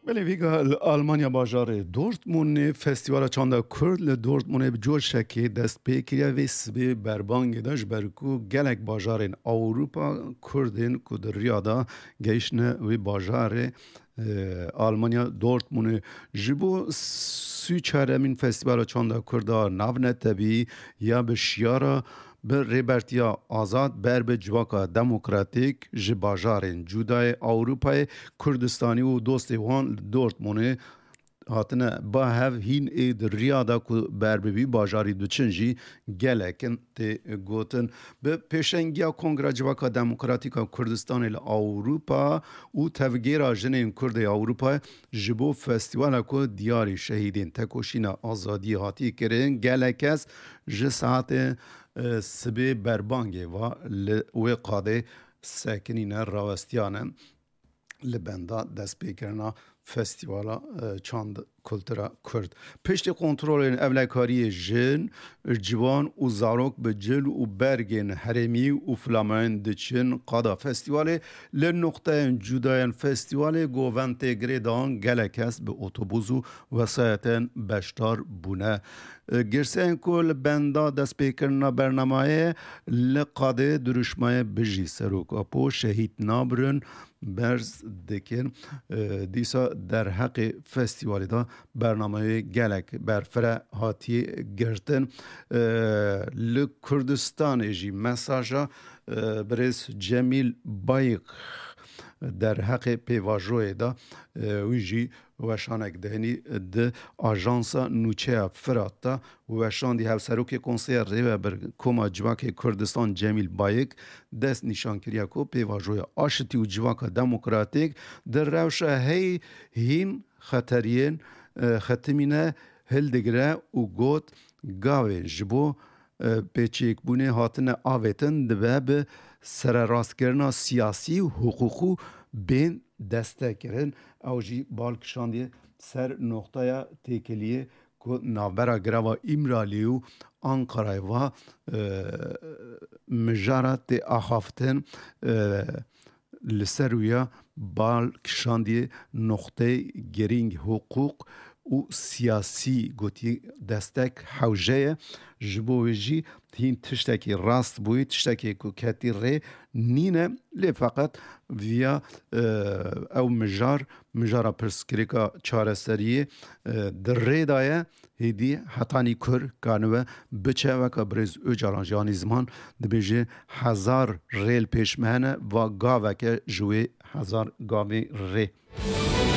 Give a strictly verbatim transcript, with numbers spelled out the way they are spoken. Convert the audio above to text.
Belê vîga li Almanya bajarê Dortmundê Festîvala Çanda Kurd li Dortmundê bi coşekê dest pê kiriye. Vê sibê berbangê de ji ber ku gelek bajarên Ewropa Kurdên ku di riya de gehiştine wê bajarê, e, Almanya Dortmundê ji bo sî û çaremîn Festîvala Çanda Kurda navnetebî ya bi şiyara bi rêbertiya azad ber bi civaka demokratîk ji bajarên cudayê Ewropayê, Kurdistanî û dostê wan li Dortmundê hatine ba hev hîn ê di riya de ku ber bi vî bajarî diçin jî gelek in tê gotin. Bi pêşengiya Kongra Civaka Demokratîk a Kurdistanê li Ewropa û Tevgera Jinên Kurd ê Ewropayê ji bo festîvala ku diyarî şehîdên tekoşîna azadiyê hatiye kirin, gelek kes ji saetê, e, sibê berbangê ve li wê qadê sekinîne, rawestiyane li benda destpêkirina Festîvala, e, Çand Kultura Kurd. Piştî kontrolên ewlekariyê jin, ciwan û zarok bi cil û bergên herêmî û flamayên diçin qada festîvalê. Li noqteyên cudayên festîvalê govend tê girêdan gelek kes bi otobûs û wesayetên beşdar bûne. Girseyên ku li benda destpêkirina bernamayê li qadê dirûşmayê Bijî Serok Apo, Şehîd Nabirin berz dikin. Dîsa derheqê festîvalê de bernameyê gelek berfireh hatiye girtin. Li Kurdistanê jî mesaja birêz Cemîl Bayik derheqê pêvajoyê de, wî jî weşanek deynî di ajansa nûçeya Firat de weşandî. Hevserokê Konseya Rêvebir Koma Civakê Kurdistan Cemîl Bayik dest nîşan kiriye ku pêvajoya aşitî û civaka demokratîk di rewşa hey hîn xeteriyên, e, xetimîne hildigire û got, gavên ji bo, e, pêçêkbûnê hatine avêtin dibe bi sererastkirina siyasî û hiqûqî bên destekirin. Ew jî bal kişandiye ser noqteya têkiliyê ku navbera girava Îmralî û Ankarayê va, e, mijara tê axaftin, e, li ser wî ya bal kişandiye noqteyê girîng hiqûq û siyasî, gotî destek hewce ye. Ji bo wê jî hîn tiştekî rast bûyî, tiştekê ku ketî rê nîne, lê feqet viya, e, ew mijar, mijara pirsgirêka çareseriyê, e, di rê de ye, hêdî hetanî kur kanibe biçe, weke birêz Ocalan jî anî ziman dibêje, hezar rê li pêş me hene, va gaveke ji wê hezar gavê rê.